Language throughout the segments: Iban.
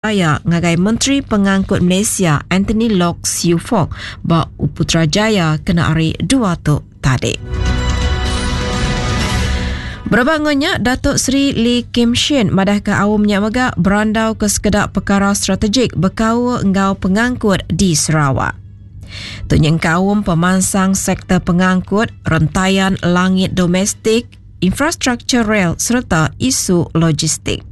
Raya ngagai Menteri Pengangkut Malaysia Anthony Loke Siew Fook ba Putrajaya kena hari Dua tu tadi. Berebak enggau nya, Datuk Seri Lee Kim Shin madahka aum nya mega berandau ke sekeda pekara strategik bekaul enggau pengangkut di Sarawak. Tu nyengkaum pemansang sektor pengangkut, rentayan langit domestik, infrastruktur rel sereta isu logistik.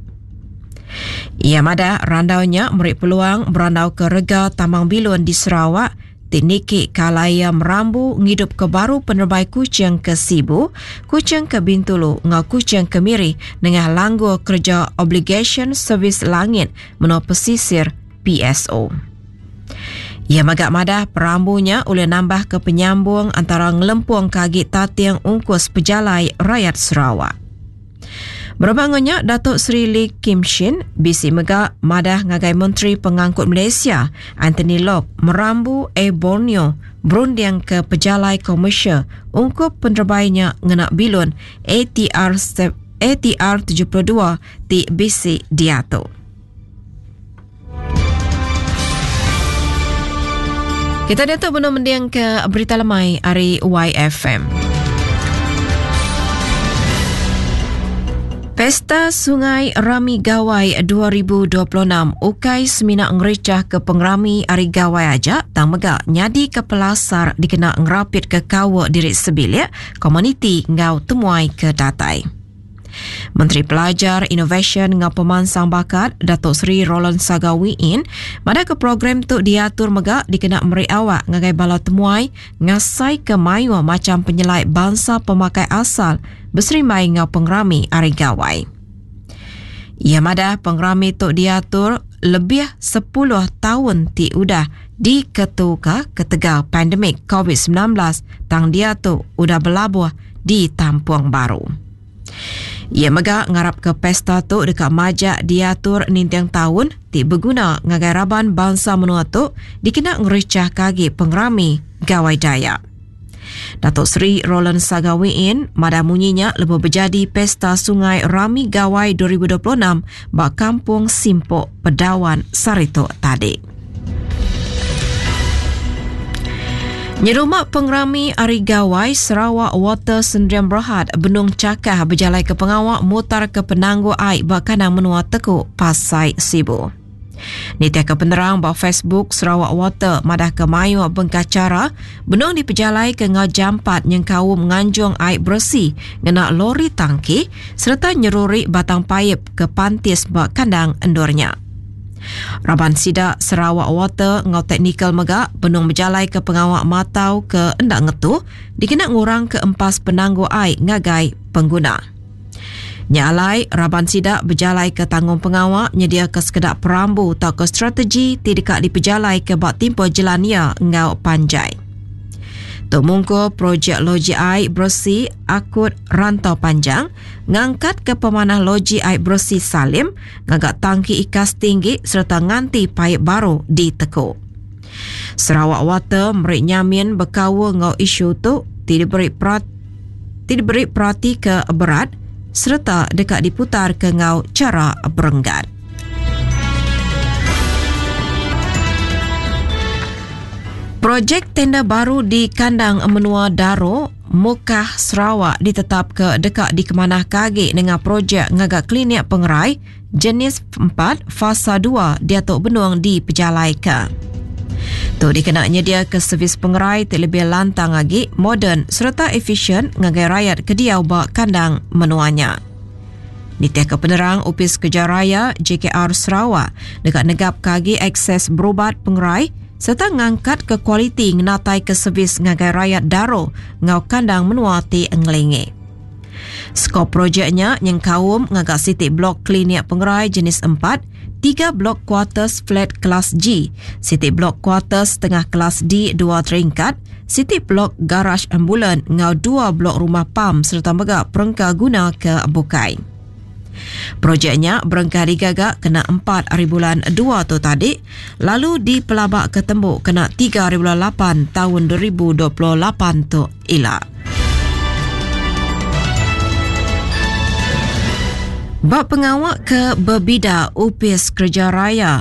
Iya madah randau nya meri peluang berandauka rega tambang bilun di Sarawak ti niki ke alai iya merambu ngidupka baru penerebai Kuching ke Sibu, Kuching ke Bintulu enggau Kuching ke Miri nengah langgur kereja Obligasyen Servis Langit Menua Pesisir, PSO. Iya mega madah perambu nya ulih nambahka penyambung antara ngelempungka agi tating ungkus pejalai rayat Sarawak. Berebak enggau nya, Datuk Seri Lee Kim Shin bisi mega madah ngagai Menteri Pengangkut Malaysia Anthony Loke merambu Air Borneo berundingka pejalai komersial ungkup penerebai nya ngena bilun ATR ATR 72 ti bisi diatu. Kita diatu benung mending ke berita lemai ari YFM. Pesta Sungai Rami Gawai 2026 ukai semina ngericah ke pengerami ari Gawai aja tang mega nyadi ke pelasar dikena ngerapit ke kaul diri sebilik, komuniti enggau temuai ke datai. Menteri Pelajar, Inovasyen enggau Pemansang Bakat, Datuk Seri Roland Saga Wiin, madahka program tu diatur mega dikena meri awak ngagai bala temuai ngasaika mayuh macham penyelai bansa pemakai asal beserimbai enggau pengerami Hari Gawai. Iya madah pengerami tu diatur lebih sepuluh taun ti udah diketuka ketegal pandemik Covid 19 tang diatu udah belabuh ditampung baru. Iya mega ngarapka pesta tu deka majak diatur ninting taun ti beguna ngagai raban bansa menua tu dikena ngerichahka agi pengerami Gawai Dayak. Dato Sri Roland Saga Wiin madah munyi nya lebuh bejadi Pesta Sungai Rami Gawai 2026 ba Kampung Simpok, Pedawan sehari tu tadi. Nyerumba pengerami Hari Gawai, Sarawak Water Sendirian Berhad benung chakah bejalaika pengawa mutarka penanggul ai ba kandang menua Teku, Pasai Sibu. Nitihka penerang ba Facebook Sarawak Water madahka mayuh bengkah chara benung dipejalaika enggau jampat nyengkaum nganjung ai beresi ngena lori tangki sereta nyeruri batang paip ke pantis ba kandang endur nya. Raban sida Sarawak Water enggau teknikal mega benung bejalaika pengawa matau ke enda ngetu dikena ngurangka empas penanggul ai ngagai pengguna. Nya alai, raban sida bejalaika tanggungpengawa nyediaka sekeda perambu tauka strategi ti deka dipejalaika ba timpuh jelan iya enggau panjai. Tu mungkur projek loji ai beresi akut rantau panjang, ngangkatka pemanah loji ai beresi Salim, ngaga tangki ikas tinggi sereta nganti paip baru diteku. Sarawak Water meri nyamin bekaul enggau isu tu ti diberi ti diberi perati ke berat sereta deka diputarka enggau chara berenggat. Projek tenda baru di kandang menua Daro, Mukah, Sarawak ditetapka deka dikemanahka agi nengah projek ngaga klinik pengerai jenis empat fasa dua diatu benung dipejalaika. Tu dikena nyediaka servis pengerai ti lebih lantang agi, moden sereta efisyen ngagai rayat ke diau ba kandang menua nya. Nitihka penerang Opis Kereja Raya, JKR, Sarawak deka negapka agi akses berubat pengerai sereta ngangkatka kualiti ngenataika servis ngagai rayat Daro enggau kandang menua ti ngelingi. Skop projek nya nyengkaum ngaga siti blok klinik pengerai jenis empat, tiga blok kuarters flat kelas G, siti blok kuarters setengah kelas D dua teringkat, siti blok garaj ambulan enggau dua blok rumah pam sereta mega perengka guna ke bukai. Projek nya berengkah digaga kena empat hari bulan dua tu tadi lalu dipelabaka tembu kena tiga hari bulan lapan taun 2028 tu ila. Ba pengawa ke bebida Opis Kereja Raya.